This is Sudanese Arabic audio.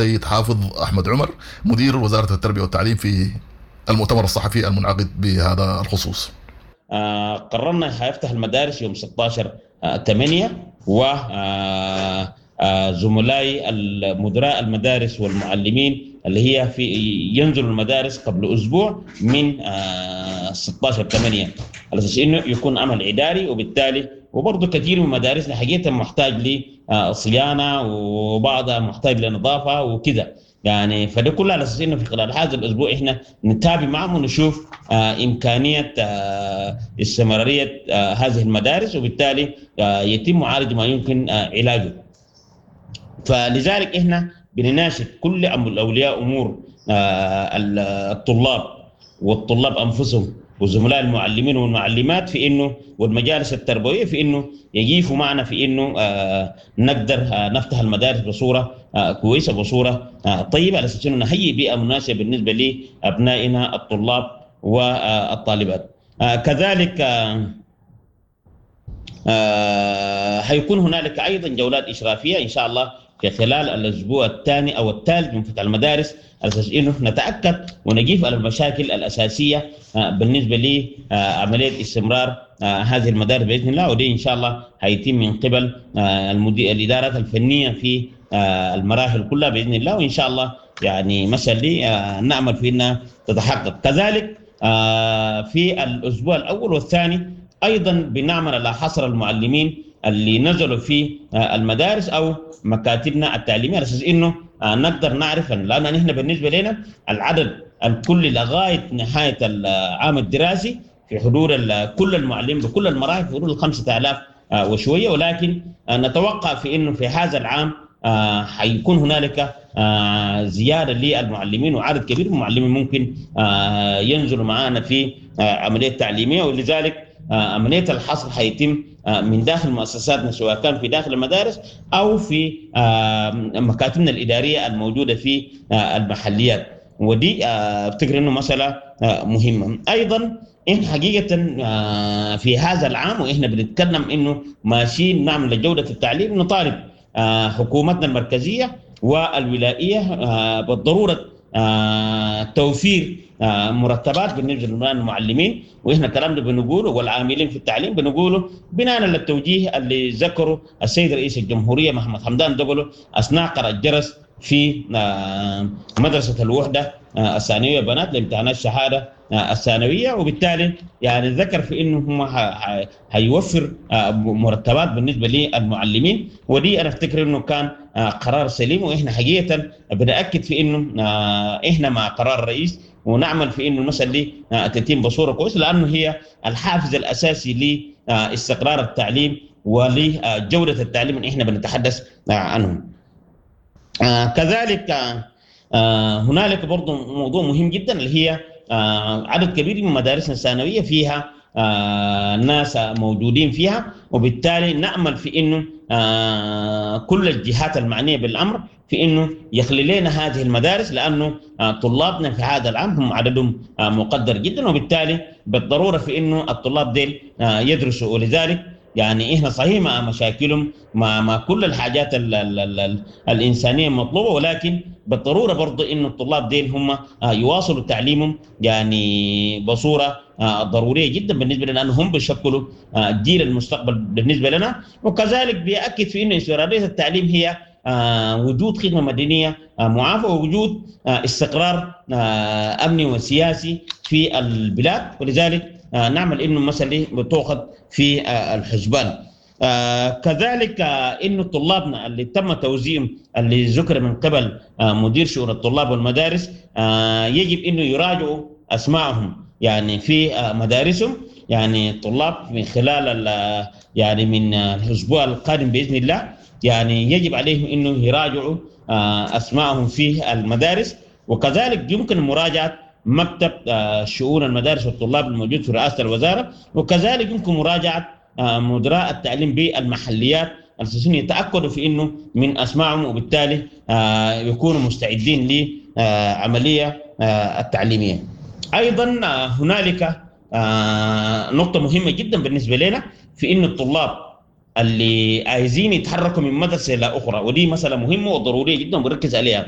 السيد حافظ احمد عمر، مدير وزارة التربية والتعليم، في المؤتمر الصحفي المنعقد بهذا الخصوص. قررنا حيفتح المدارس يوم 16/8، و زملائي المدراء المدارس والمعلمين اللي هي في ينزلوا المدارس قبل اسبوع من 16/8 على اساس انه يكون عمل اداري. وبالتالي وبرضه كثير من مدارسنا حقيقة محتاج لصيانه وبعضها محتاج لنظافه وكذا يعني، فده كله على اساس انه في خلال هذا الاسبوع احنا نتابع معهم ونشوف امكانية استمرارية هذه المدارس، وبالتالي يتم معالجة ما يمكن علاجه. فلذلك احنا بنناشد كل اولياء امور الطلاب والطلاب انفسهم وزملاء المعلمين والمعلمات في انه والمجالس التربوية في انه يجيفوا معنا في انه نقدر نفتح المدارس بصورة كويسة، بصورة طيبة، على اساس انه نهيئ بيئة مناسبة بالنسبة لابنائنا الطلاب والطالبات. كذلك حيكون هنالك ايضا جولات اشرافيه ان شاء الله في خلال الاسبوع الثاني او الثالث من فتح المدارس، على اساس انه نتاكد ونجيف على المشاكل الاساسية بالنسبة لعملية استمرار هذه المدارس باذن الله. ودي ان شاء الله هيتم من قبل الادارات الفنية في المراحل كلها باذن الله، وان شاء الله يعني مسألة دي نامل في انها تتحقق. كذلك في الاسبوع الاول والثاني ايضا بنعمل على حصر المعلمين اللي نزلوا في المدارس او مكاتبنا التعليمية، على اساس انه نقدر نعرف، لان نحن بالنسبة لنا العدد الكلي لغاية نهاية العام الدراسي في حضور كل المعلمين بكل المراحل في حدود 5000 وشوية، ولكن نتوقع في انه في هذا العام حيكون هنالك زيادة للمعلمين وعدد كبير من المعلمين ممكن ينزلوا معنا في عملية تعليمية. ولذلك عملية الحصر حيتم من داخل مؤسساتنا، سواء كان في داخل المدارس او في مكاتبنا الادارية الموجودة في المحليات، ودي افتكر انه مسالة مهمة. ايضا احنا حقيقة في هذا العام واحنا بنتكلم انه ماشيين نعمل لجوده التعليم، نطالب حكومتنا المركزية والولائيه بالضرورة توفير مرتبات بالنسبة للمعلمين، واحنا الكلام ده بنقوله والعاملين في التعليم بنقوله بناء على التوجيه اللي ذكره السيد رئيس الجمهورية محمد حمدان دقلو اثناء قرع الجرس في مدرسه الوحدة الثانوية بنات لامتحانات الشهادة الثانوية. وبالتالي يعني ذكر في انه هم هيوفر مرتبات بالنسبة للمعلمين، ودي انا افتكر انه كان قرار سليم، واحنا حقيقة بناكد في انه احنا مع قرار الرئيس ونعمل في انه المسالة دي تتم بصورة كويسة، لانه هي الحافز الاساسي لاستقرار التعليم ولجوده التعليم اللي احنا بنتحدث عنه. كذلك هنالك برضه موضوع مهم جدا اللي هي عدد كبير من مدارسنا الثانوية فيها ناس موجودين فيها، وبالتالي نامل في انه كل الجهات المعنية بالامر في انه يخلي لنا هذه المدارس، لانه طلابنا في هذا العام هم عددهم مقدر جدا، وبالتالي بالضرورة في انه الطلاب ديل يدرسوا. ولذلك يعني احنا صحيح مع مشاكلهم مع كل الحاجات ال ال ال ال الانسانية المطلوبة، ولكن بالضرورة برضه انه الطلاب ديل هم يواصلوا تعليمهم يعني بصورة ضرورية جدا بالنسبة لنا، لانه هم بيشكلوا جيل المستقبل بالنسبة لنا. وكذلك بياكد في انه استمرارية التعليم هي وجود خدمة مدنية معافى ووجود استقرار امني وسياسي في البلاد، ولذلك نعمل انه المسالة بتؤخذ في الحسبان. كذلك انه طلابنا اللي تم توزيعهم اللي ذكر من قبل مدير شؤون الطلاب والمدارس، يجب انه يراجعوا اسماءهم يعني في مدارسهم، يعني الطلاب من خلال يعني من الاسبوع القادم باذن الله يعني يجب عليهم انه يراجعوا اسماءهم في المدارس. وكذلك يمكن مراجعه مكتب شؤون المدارس والطلاب الموجود في رئاسة الوزارة، وكذلك يمكن مراجعه مدراء التعليم بالمحليات الاساسيين يتاكدوا في انه من اسمائهم، وبالتالي يكونوا مستعدين لعملية التعليمية. ايضا هنالك نقطة مهمة جدا بالنسبة لنا في انه الطلاب اللي عايزين يتحركوا من مدرسه الى اخرى، ودي مسالة مهمة وضرورية جدا وبركز عليها.